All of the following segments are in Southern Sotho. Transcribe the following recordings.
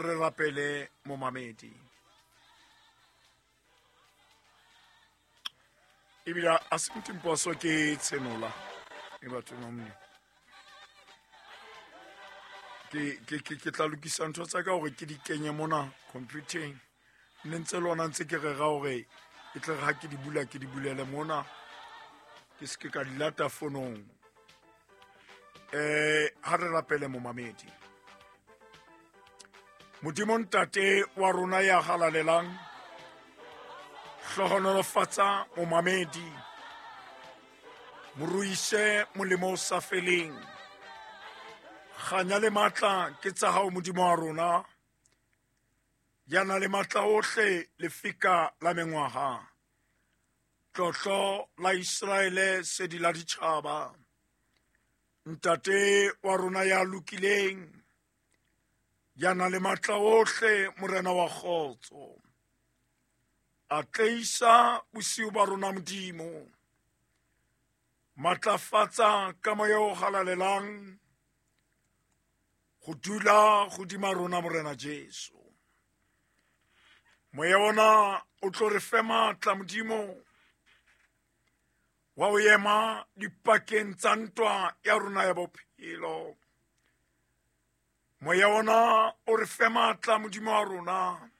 Re rapele momamedi. Ebile a se mtimposo ke tshenola e batho mamne. Ke tla lokisa ntho tsa ka hore ke di kenye mona computeng. Ne ntse lona ntse ke rera hore e tle re ha ke di bula ke di bulele mona. Ke se ke ka di lata fonong. Ha re rapele momamedi. Modimo ntate wa rona ya halalelang, hlohonolofatsa momamedi, moruise molemo o sa feleng. Kganya le matla ke tsa hao Modimo wa rona, ya na le matla ohle lefika la mengwaha. Tlotlo la Iseraele sedi la ditjhaba. Ntate wa rona ya lokileng, ya na le matla ohle Morena wa kgotso. Atleisa bosiu ba rona Modimo. Matlafatsa ka moya o halalelang go dula godima rona Morena Jesu. Moya ona o tlo re fe matla Modimo wa o ema dipakeng tsa ntwa ya rona ya bophelo. Moya ona o re fe matla Modimo wa rona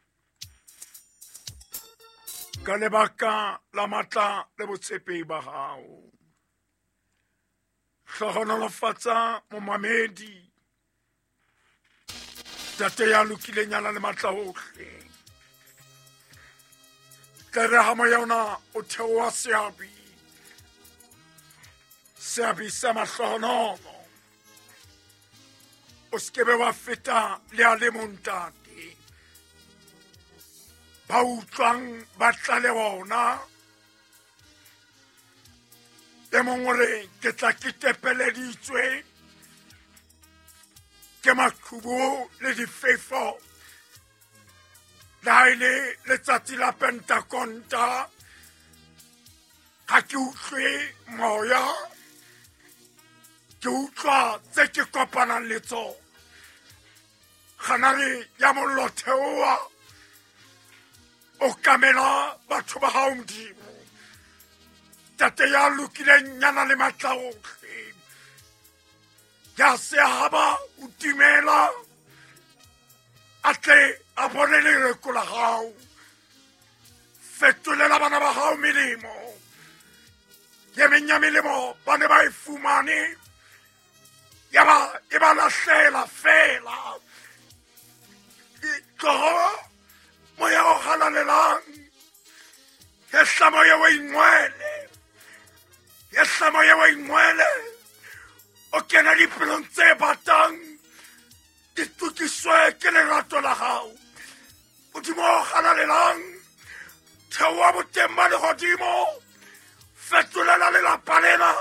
ka lebaka la matla le botshepehi ba hao. Hlohonolofatsa momamedi, Tate ya lokileng ya nang le matla ohle. Tle re ha moya ona o theoha seabi, seabi sa mahlohonolo, o se ke be wa feta le a le mong ntate. Ba utlwang ba tla le bona. E mong o re ke tla ke tepeleditswe ke maqhubu le difefo, le ha e le letsatsi la Pentakonta, ha ke utlwe moya, ke utlwa tse ke kopanang le tsona. Kganare ya mollo theoha, o kamela batho ba hao Modimo. Tate ya lokileng ya nang le matla ohle, ya sehaba o timela, a tle a bone lereko la hao. Fetolela bana ba hao melemo. Ye meng ya melemo ba ne ba e fumane, ya ba e ba lahlela fela. Tloho moya o halalelang, yehla moya o ingwele, yehla moya o ingwele, o kena dipelong tse batang di tukiswe ke lerato la hao. Modimo o halalelang, theoha boteng ba lehodimo, fetolela lelapa lena,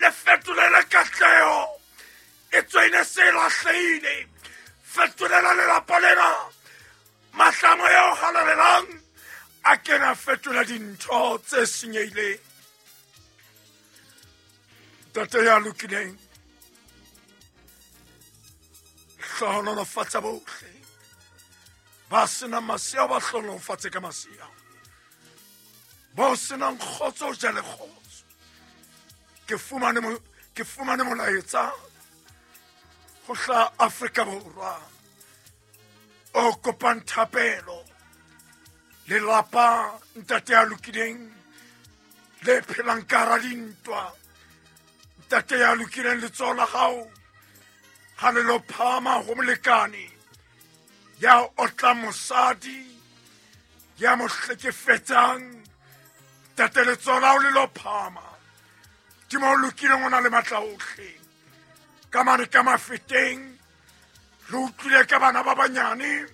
le fetolele katleho e tswene se lahlehile. Fetolela lelapa lena, matla a moya o halalelang a kena fetola dintho tse senyehileng. Ntate ya lokileng, hlohonolofatsa bohle ba senang masea, ba hlohonolofatse ka masea, ba senang kgotso o jale kgotso. Ke fumane molaetsa ho hla Afrika Borwa o kopang thapelo. Lelapa ntate ya lokileng le phelang ka hara dintwa, ntate ya lokileng letsoho la hao ha le lo phahama ho molekane ya otlang mosadi ya mo hlekefetsang, ntate letsoho la hao le lo phahama. Modimo o lokileng o na le matla ohle. Ka mane ka mafeteng re utlwile ka bana ba banyane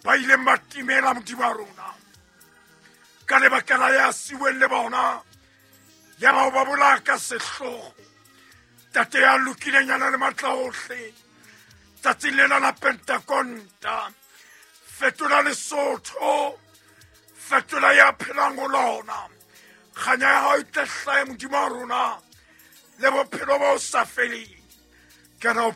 ba ileng ba timela Modimo wa rona ka lebaka la ya siweng le bona, ya bao ba bolaya ka sehlogo. Tate ya lokileng ya nang le matla ohle, tsatsing lena la Pentakonta, fetola Lesotho, fetola ya phelang ho lona. Kganya ya hao e tle hlahe Modimo wa rona le bophelo bo sa feleng. Ke ra o